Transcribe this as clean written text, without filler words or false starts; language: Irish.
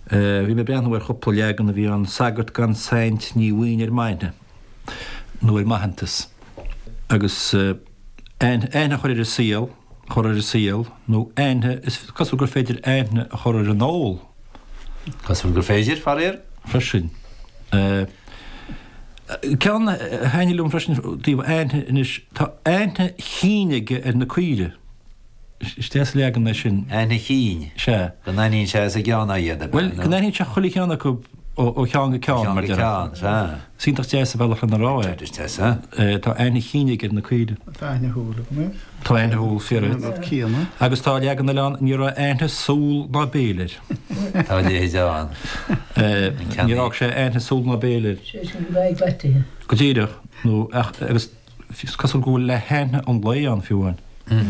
Bhí mé ag breathnú ar chúpla leagan a bhí ann, sagart gan saint ní bhfaighinn ar m'aithne, nó ar m'aitheantas. Agus aithne a chur ar an saol, chur ar an saol, nó aithne, is cosúil gur féidir aithne a chur ar an ól. Cosúil gur féidir, faraor. Freisin. Ceann a thaitnigh liom freisin i dtaobh aithne anois, tá aithne chinn aige ar na caoirigh. Is deas an leagan é sin. Aithne chinn? Sea. Go n-aithníonn sé as a gceann iad, ab ea? Bhuel, go n-aithníonn sé chuile cheann acu ó cheann go ceann, mar déarfá. Ó cheann go ceann, sea. Is iontach deas an bealach lena rá é. Is deas, sea. Tá aithne chinn aige ar na caoirigh. Tá aithne shúl agam air. Tá aithne shúl, fíor duit. An rud céanna. Agus tá leagan eile ann, ní raibh aithne súl ná béil air. Tá a leithéid ann. Níor fhág sé aithne súl ná béil air. Sé sin go raibh aghaidh leataithe. Go díreach, nó ach, agus is cosúil go bhfuil le haithne an lae ann fiú amháin.